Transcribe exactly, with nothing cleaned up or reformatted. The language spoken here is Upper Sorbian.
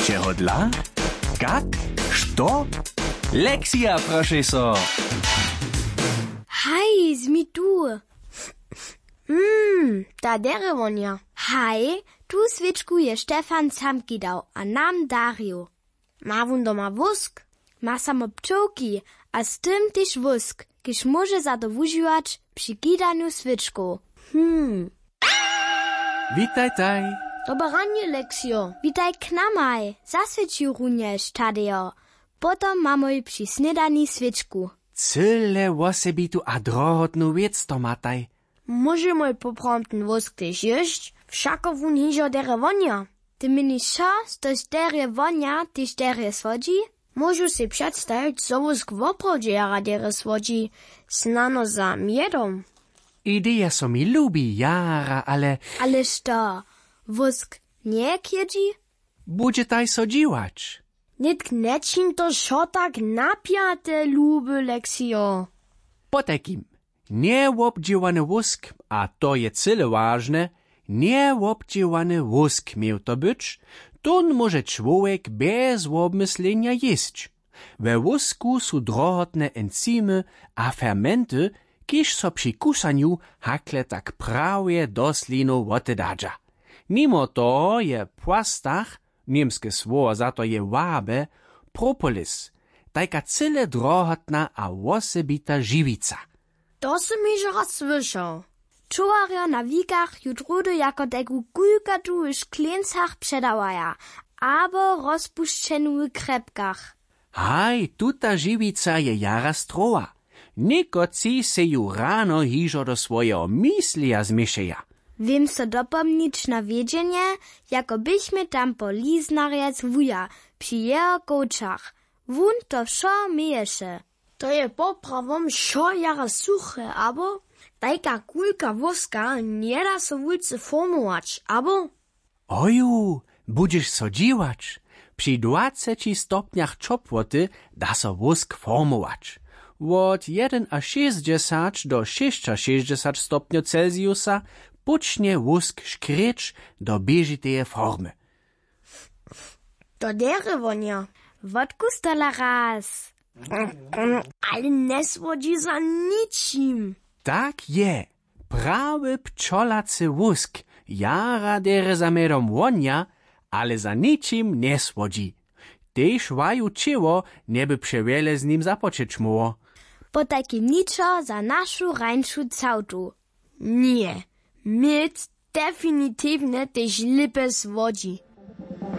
Čehodla? Kak? Što? Lexija, prošej so. Haj, zmi tu. Mm, ta derjewonja. Haj, tu swěčku je Štefan sam kidał a nam darił. Ma wón doma wósk? Ma samo pčołki a z tym tež wósk, kiž móže za to wužiwać při kidanju swěčkow. Hmm. Witajtaj. Dobre ranje, Leksijo. Witaj k namaj. Zaswěćił runjež, Tadejo. Potom mamoj při snědani swěčku. Cyle wosebitu a drohotnu wěc to mataj. Móžemoj poprawom ten wósk tež jěsć? Wšako wón hižo derje wonja. Ty měniš wšo, štož derje wonja, tež derje słodźi? Móžu sej předstajić, zo wósk woprawdźe jara derje słodźi, snano za mjedom. Ideja so mi lubi jara, ale... Ale što, wósk njeje k jědźi? Budźetaj so dźiwać. Nětk nječin to wšo tak napjate, luby Leksijo. Potajkim, njewobdźěłany wósk, a to je cyle wažne, njewobdźěłany wósk měł to być, tón móže čłowjek bjez wobmyslenja jěsć. We wósku su drohotne enzymy a fermenty, kiž so při kusanju hakle tak prawje do slinow wotedadźa. Nimo toho je płastach, němske słowo za to je wabe, propolis, tajka cyle drohotna a wosebita žiwica. To sym hižo raz słyšał. Čowarjo na wikach ju druhdy jako tajku kulkatu w škleńcach předawaja abo rozpušćenu w krjepkach. Haj, tuta žiwica je jara strowa. Někotři sej ju rano hižo do swojeho myslija změšeja. Wěm so dopomnić na wjedźenje, jako běchmy tam po liznarjec wuja při jeho kowčach. Wón to wšo měješe. To je poprawom wšo jara suche, abo? Tajka kulka wóska njeda so wulce formować, abo? Oju, budźeš so dźiwać. Při dwaceći stopnjach ćopłoty da so wósk formować. Wot jedynašěsćdźesać do šěsćašěsćdźesać stopnjow celsiusa póčnje wósk škrěć do běžiteje formy. To derje wonja. Wotkus tola raz. Ale njesłodźi za ničim. Tak je. Prawy pčolacy wósk jara derje za mjedom wonja, ale za ničim njesłodźi. Tež waju ćěło njeby přewjele z nim započeć móhło. Potajkim ničo za našu rańšu całtu. Ně, měd definitiwnje tež lěpje słodźi.